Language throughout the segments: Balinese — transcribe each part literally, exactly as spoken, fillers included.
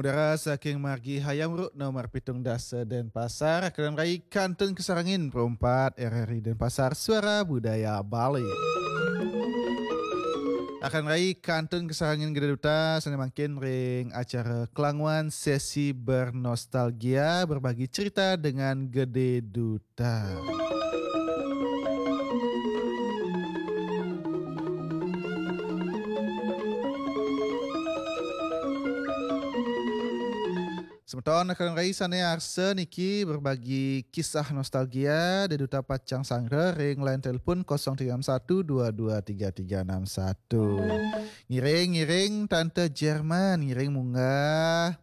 Dara saking margi Hayam Wuruk nomor pitung dasa Denpasar, akan rai kantun kasarengin perumpat R R I Denpasar, Suara Budaya Bali. Akan rai kantun kasarengin Gede Duta, sane mangkin ring acara Kelangwan Sesi Bernostalgia, berbagi cerita dengan Gede Duta. Semeton akan rai sane arsa niki berbagi kisah nostalgia, Gede Duta pacang sanggra ring line telepon kosong tiga enam satu dua dua tiga tiga enam satu. Ngiring, ngiring Tante Jerman, ngiring munggah.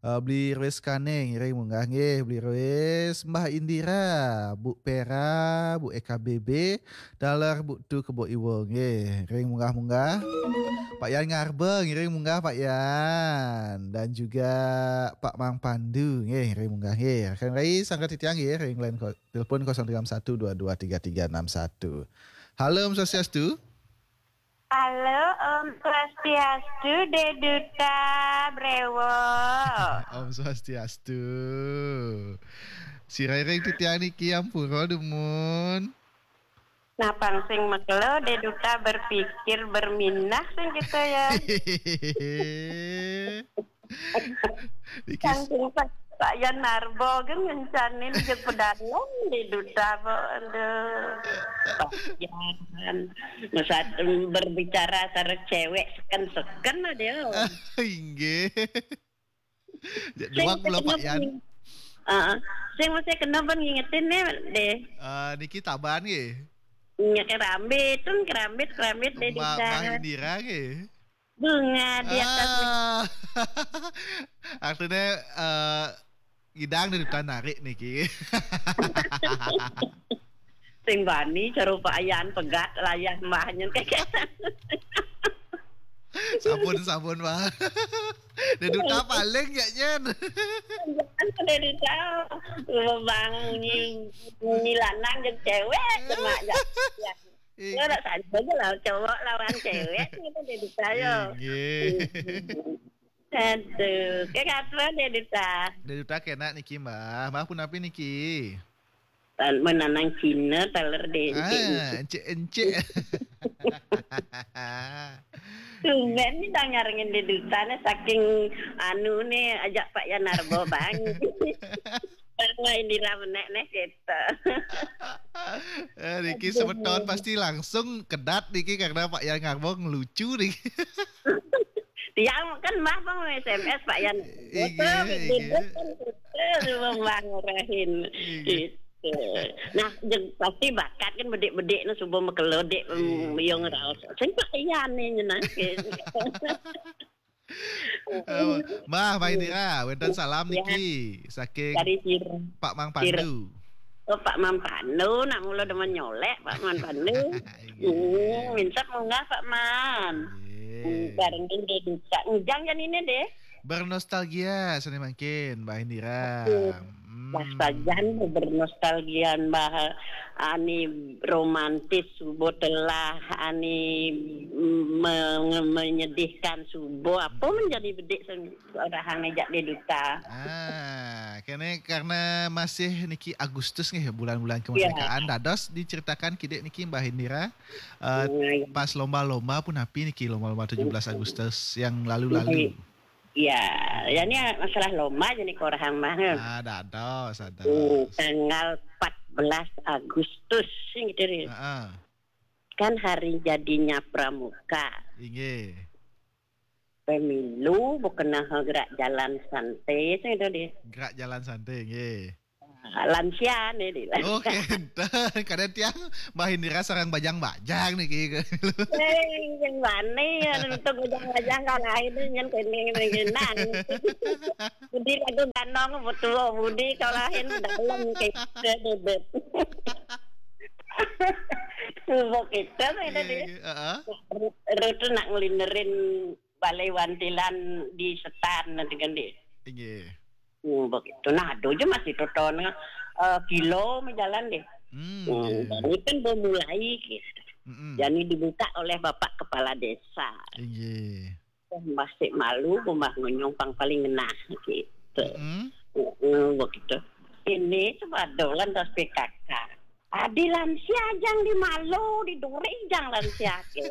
Eh, Beli Ruis Kane, ngiring munggah nggih, Beli Ruis, Mbah Indira, Bu Pera, Bu E K B B, taler Bu Tu Kebo Iwo nggih, ngiring munggah-munggah. Pak Yan Ngarba, ngiring munggah Pak Yan, dan juga Pak Mang Pandu nggih, ngiring munggah nggih. Akan rai sanggra titiang nggih, ring line ko-, telepon kosong tiga enam satu dua dua tiga tiga enam satu. Halo, Om Swastiastu. Halo, Om Swastiastu, Gede Duta Brewo. Om Swastiastu. Sira ring titiang niki ampura dumun. Napang sing makelo, Gede Duta berpikir berminah sing kita ya. Iki s- Saking Pak, Pak Yan Narbo kan ngencanin je pedalem di Duta, Pak. Aduh. Pak Yan. Masa berbicara sareng cewek seken-seken lah dia. Inggih. Sing doang pula Pak Yan. Heeh. Sing mesti kena pun ngingetin nih, deh. Eh, niki taban nggih. Nya kerambit, tun kerambit, kerambit deh. Mbak Indira nggih. Bunga di atas. Ah. Artinya, eh, ngidang dari Duta narik niki. Sing bani cara Pak Yan pegat layah mbahnya. Sampun, sampun, Pak. Gede Duta paling ya, nyen. Jangan Gede Duta. Bang nyi, nyi lanang jeung cewek, cuma ya. Iya. Lo nak saja aja lah, cowok lawan cewek, gitu, Gede Duta, yo. Inggih. Aduh, ke katra, Gede Duta. Gede Duta kena niki, Mbah. Mbah punapi niki? Tan-, menanang Cina, taler deh, encik-encik. Ah, encik-encik. Tumben nih, dah ngarengin Gede Duta nih, saking anu nih, ajak Pak Yan Narbo, Bang. Bang, wah, Indira menek nih, gitu. Eh, niki semeton pasti langsung kedat niki karena Pak Yan Narbo ngelucu niki. Tiang kan Mbah pang S M S Pak Yan. Inggih, betul, inggih. Betul, kan betul, Mbah ngarahin. Inggih. Gitu. Nah, jeung pasti bakat kan bedik-bedik nu subuh makelo dik, em, inggih. Yo ngeraos. Sing Pak Yan nih nyenangke. Eh, Mbah, Mbah Indira, wenten salam niki saking dari Sir-, Pak Mang Sir-, Pandu. Oh, Pak Mang Pandu, nak mula demen nyolek, Pak Mang Pandu. Iya. Hmm, minta munggah, Pak Man. Iya. Hmm, bareng deh, deh, bisa. Ujang kan ini deh. Bernostalgia, seni mangkin, Mbah Indira. Oke. Hmm. Nah, sajan bernostalgia, Mbah, ani romantis, subuh telah, ani me-, menyedihkan, subuh. Apa hmm. Menjadi bedik sen-, Orang ngejak dia duta. Ah, kene karena masih niki Agustus nggih, bulan-bulan kemerdekaan. Ya. Dados diceritakan kidik niki Mbah Indira, eh, hmm, ya. Pas lomba-lomba punapi niki, lomba-lomba tujuh belas Agustus yang lalu-lalu. Ya, ya ini masalah lomba jadi korang mah. Ah, dados, dados. Hmm, tanggal empat belas Agustus gitu deh. Heeh. Kan hari jadinya Pramuka. Inggih. Pemilu bukan gerak jalan santai, saya tahu deh. Gerak jalan santai, nggih. Lansia nih, deh. Oh, kenten. Kadang tiang Mbah Indira sareng bajang-bajang nih, ki. Eh, yang mana ya, untuk bajang-bajang kalahin nih, yang kene, kene, nang. Budi lagu ganong, betul, Budi kalahin dalam, kayak gitu, deh. Tuh, kita, saya tahu deh. Iya, iya, heeh. Rutu nak ngelinerin Balai Wantilan di Setan nanti kan, deh. Inggih. Hmm, begitu. Nah, aduh aja masih toton, eh, kilo me jalan deh. Hmm, hmm, inggih. Dan ini kan baru mulai gitu. Mm-mm. Dan ini dibuka oleh Bapak Kepala Desa. Inggih. Mbah sik malu, mbah ngonyong pang paling ngenah gitu. Mm-mm. Heeh, begitu. Ini coba dolan das P K K. Adi lansia jang di malu, di duri jang lansia ke.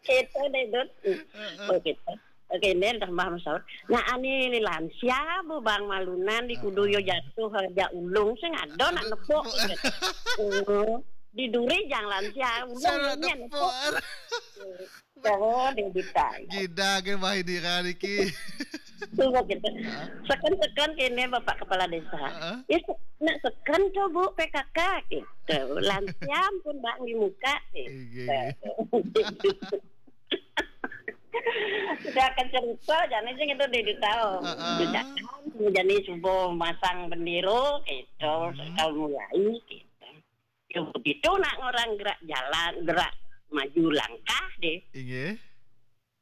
Gitu deh, Dut. Heeh. Oh, gitu. Oke, ini dah Mbah Masaud. Nah, ani lansia bu bang malunan di kudu yo jatuh aja ulung sing ada nak nepuk. Oh, di duri jang lansia ulung. Saya nak nepuk. Oh, dia ditanya. Gida ke Mbah Indira niki. Coba gitu. Seken-seken kene Bapak Kepala Desa. Heeh. Ya, se- nak seken tu Bu P K K gitu. Lansia pun bang di muka gitu. Iya, iya. Sudah akan cerita, jangan sih itu dia tahu. Heeh. Jadi subuh masang bendera gitu, kalau mulai gitu. Ya begitu nak orang gerak jalan, gerak maju langkah deh. Inggih.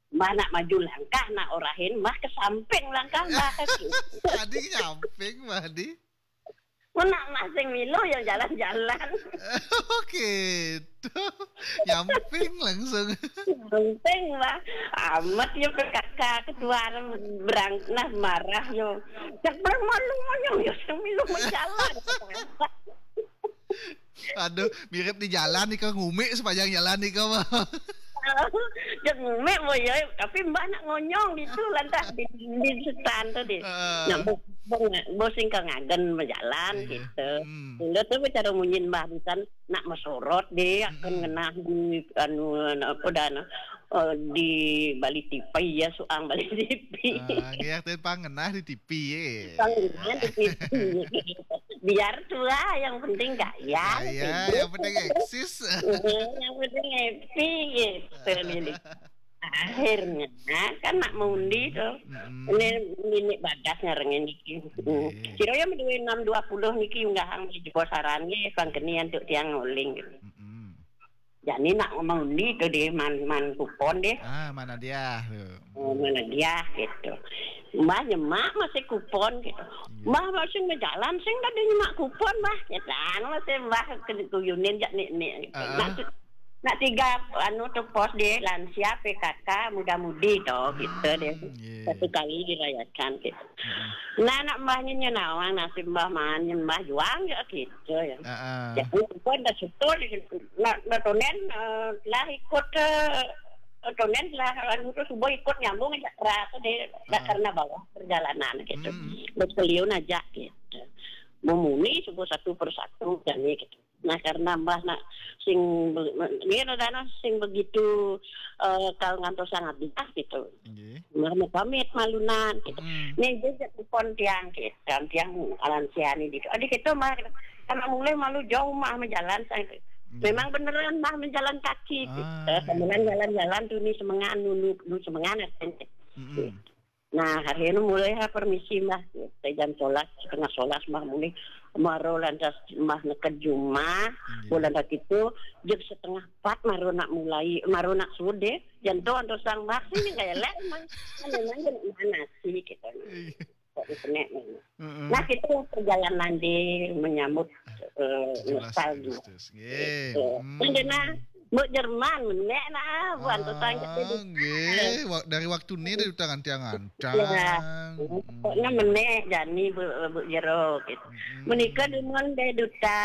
Mbah nak maju langkah, nak orahin, mbah ke samping langkah, mbah ke kiri. Adi nyamping, mbah Adi. Nak masing milu yang jalan-jalan. Oke, itu nyamping langsung. Samping, mbah. Amat ya P K K ketua berang, nah marah yo. Cak berang malu monyong yo, sing milu menjalan. Aduh, mirip di jalan nih kok, ngumik sepanjang jalan nih kok. Dia ngumik boy, tapi mbah nak ngonyong gitu lantas di, di setan tadi. Heeh. Nah, bo, bo, bo sing ke ngagen berjalan gitu. Hmm. Sehingga tu cara munyin mbah bukan nak mesorot deh, akan ngenah di anu, anu apa dah, anu, eh, di balik T V ya, suang balik T V. Ah, nggih, ten pang ngenah di T V ya. Pang ngenah di T V. Biar tua, yang penting gaya. Gaya, yang penting eksis. Yang penting happy gitu nih. Akhirnya kan nak mengundi tuh. Mm-mm. Ini, ini bagas ngarengin niki. Nggih. Kira ya mendua enam dua puluh niki unggahang di jebol saran nggih, pangkenian untuk tiang nguling gitu. Mm-mm. Jadi nak mengundi tuh deh, man, man kupon deh. Ah, mana dia tuh? Oh, mana dia gitu. Mbah nyemak masih kupon gitu. Iya. Mbah masih ngejalan sing tadi nyemak kupon, mbah. Ya kan, masih mbah ke kuyunin jak nik nik gitu. Heeh. Nak, nak tiga anu tuh pos deh, lansia, P K K, muda-mudi tuh gitu deh. Hmm, iya. Satu kali dirayakan gitu. Heeh. Nah, nak mbahnya nyenawang, nasib mbah man, mbah juang ya gitu ya. Heeh. Jadi kupon dah syukur, nak, nak tonen, eh, lah ikut ke, eh, tonen lah, anu tuh subuh ikut nyambung aja kerasa deh, dah karena bawah perjalanan gitu. Hmm. Buat keliun aja gitu. Memuni subuh satu persatu, jadi gitu. Nah, karena mbah nak sing be-, me-, dia dana sing begitu, eh, kalau ngantos sangat dia gitu. Nggih. Mbah mau pamit malunan gitu. Hmm. Nih, dia jak kupon tiang gitu. Tiang alansiani gitu. Adik itu mbah, karena mulai malu jauh mah menjalan saya. Nggih. Memang beneran mah menjalan kaki gitu. Ah, iya. Kemudian jalan-jalan tuh nih semengan, nunu, nunu semengan, katanya. Mm-mm. Nah, hari ini mulai ha permisi mbah. Jam sebelas, setengah sebelas mbah mulai. Maro lantas mbah neked jumah, iya, bulan dah itu, jam setengah empat maro nak mulai, maro nak sude. Jantung antar sang mbah sini kayak lek, emang. Kan memang dia nak mana sih, gitu. Iya. Kok di senek memang. Heeh. Nah, itu perjalanan di menyambut, eh, tujuh belas nostalgia. Agustus. Nggih. Gitu. Hmm. Kan dia nah, Mbok Jerman, menek nah, buan tu tang jadi. Ah, nggih. Wa-, dari waktu ni dia utangan tiang antang. Ya. Hmm. Pokoknya menek jani bu, bu jero gitu. Hmm. Menika dumun deh duta,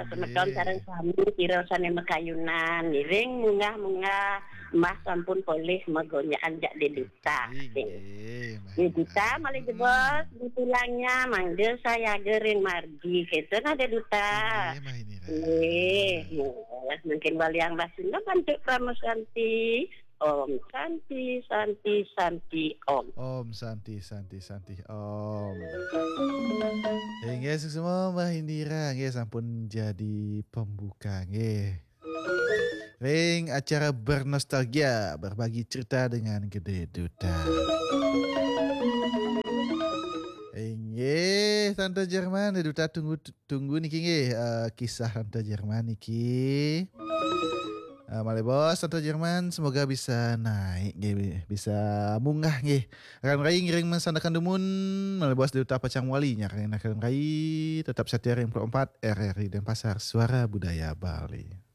nggih, semeton sareng sami kira sane makayunan, ngiring munggah-munggah, mbah sampun polih magonjakan jak deh duta. Inggih, Mbah Indira. Duta malih jebos, di tulangnya, mangga saya gering margi. Gitu nah, deh duta. Inggih, Mbah Indira. Nggih, mungkin baliang Mbah Sunda bantuk Parama Santi. Om Santi, Santi, Santi, Om. Om Santi, Santi, Santi, Om. Inggih, suksma Mbah Indira, nggih sampun jadi pembuka, nggih. Ring acara bernostalgia, berbagi cerita dengan Gede Duta. Inggih, Tante Jerman, Duta tunggu, tunggu niki nggih, eh, kisah Tante Jerman niki. Eh, malih bos, Tante Jerman, semoga bisa naik nggih, bisa munggah nggih. Akan rai ngiring masandekan dumun, malih bos Duta pacang wali nyaring akan rai, tetap setia ring empat R R I Denpasar, Suara Budaya Bali.